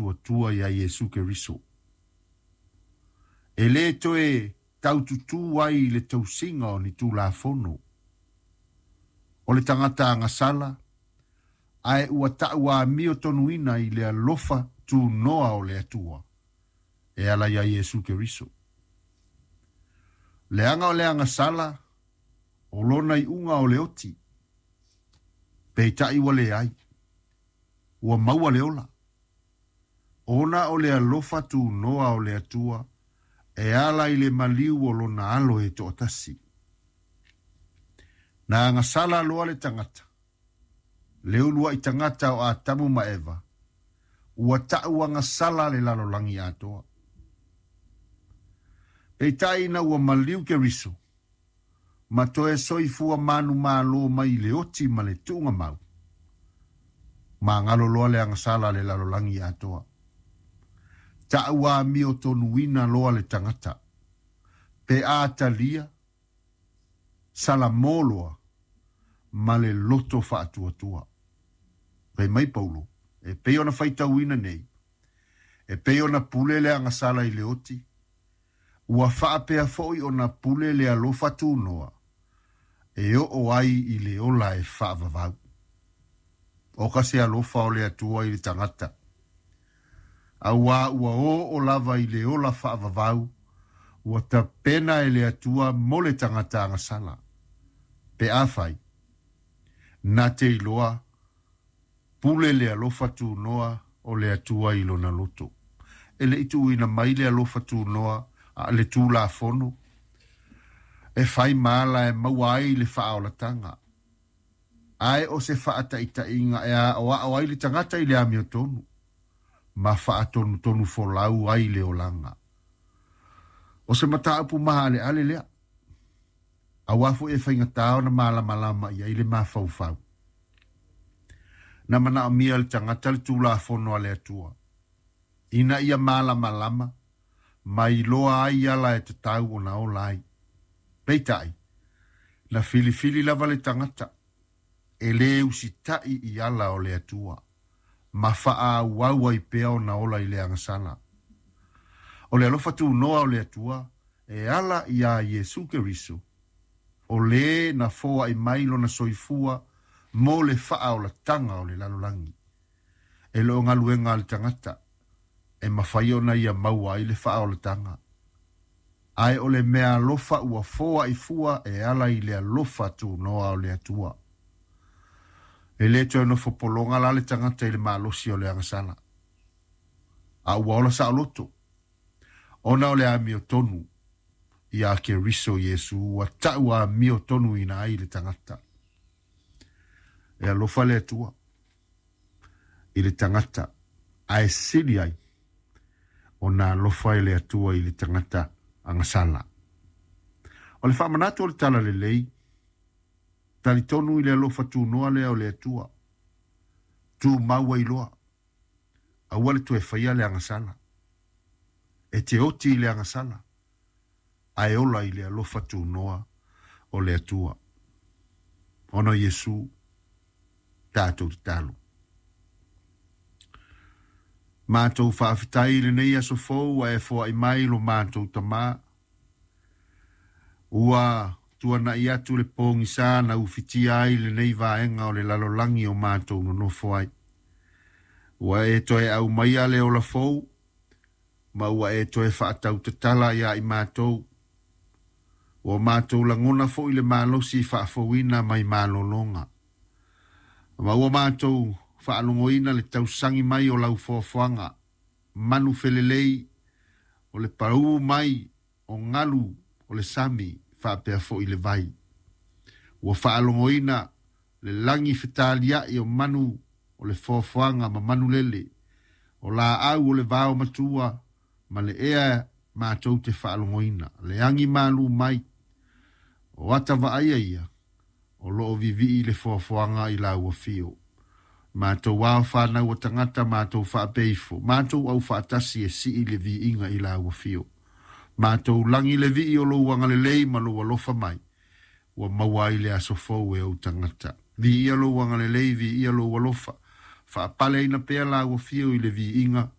Faatuatua iā Iesu Keriso. E lē toe taututū ai i le tausiga o ni Tulafono. O le tagata agasala, ae ua ta'u amiotonu i le alofa tunoa o le Atua e ala iā Iesu Keriso. Leaga o le agasala o lona iuga o le oti, peita'i ua leai, ua maua le ola. Ona o le alofa tunoa o le Atua e ala i le maliu o lona alo e to'atasi. Na agasala loa le tagata, le ulua'i tagata o Atamu ma Eva, ua ta'u agasala le lalolagi atoa. Peita'i ina ua maliu Keriso, ma toe soifua manumālō mai le oti ma le tu'ugamau, magalo loa le agasala le lalolagi atoa. Ta'u amiotonuina loa le tagata, pe a talia, salamō loa, ma le loto fa'atuatua. Fai mai Paulo, e pei ona faitauina nei, e pei ona pule le agasala i le oti, ua fa'apea fo'i ona pule le alofa tunoa, e o'o ai i le ola e fa'avavau. O ka se alofa o le Atua i le tagata. Auā ua o'o lava i le ola fa'avavau, ua tapena e le Atua mo le tagata agasala. Pe afai, na te iloa, pule le alofa tunoa o le Atua i lona loto. E le'i tu'uina mai le alofa tunoa a le Tulafono, e fai ma ala e maua ai le fa'aolataga. Ae o se fa'ata'ita'iga e a'oa'o ai le tagata i le amiotonu, ma fa'atonutonu folau ai le olaga. O se mataupu maha'ale'ale lea. Auā fo'i e faigatā ona malamalama i ai le mafaufau. Na mana'omia le tagata le Tulafono a le Atua. Ina ia malamalama, ma iloa ai ala e tatau ona ola ai. Peita'i, na filifili lava le tagata, e lē usita'i i ala o le Atua, ma fa'aauau ai pea ona ola i le agasala. O le alofa tunoa o le Atua, e ala iā Iesu Keriso, o lē na foa'i mai lona soifua mo le fa'aolataga o le lalolagi. E le o galuega a le tagata, e mafai ona ia maua ai le fa'aolataga. Ae o le mea alofa ua foa'i fua e ala i le alofa tunoa o le Atua. E lē toe nofo pologa la le tagata i le malosi o le agasala. A ua ola sa'oloto, ona o le amiotonu iā Keriso Iesu ua ta'u amiotonuina ai le tagata. E alofa le Atua i le tagata, ae sili ai ona alofa e le Atua i le tagata agasala. O le fa'amanatu o le Tala Lelei, talitonu i le alofa tunoa lea o le Atua. Tumau ai loa, aua le toe faia le agasala. E te oti i le agasala, ae ola i le alofa tunoa o le Atua. Ona o Iesu, tatou tatalo. Matou fa'afetai i lenei aso fou ua e foa'i mai lo matou Tamā. Ua tuana'i atu le pogisā na ufitia ai lenei vaega o le lalolagi o matou nonofo ai. Ua e toe aumaia le ola fou, ma ua e toe fa'atautatala iā i matou. Ua matou lagona fo'i le malosi fa'afouina mai malologa. Ma ua matou fa'alogoina le tausagi mai o lau foafoaga, manu felelei, o le paū mai o galu o le sami fa'apea fo'i le vai. Ua fa'alogoina le lagi fetalia'i o manu o le foafoaga ma manu lele, o lā'au o le vao matua ma le ea matou te fa'alogoina, le agi malū mai, o ata va'aia ia, o lo'o vivi'i le foafoaga i lau afio. Matou ao whānau o tagata matou fa'apea ifo, matou au fa'atasi e si'i le vi'iga i lau afio. Matou lagi le vi'i o lou agalelei ma lou alofa mai, ua maua ai le aso fou e ou tagata. Viia lou agalelei, viia lou alofa. Fa'apaleina pea lau afio i le vi'iga.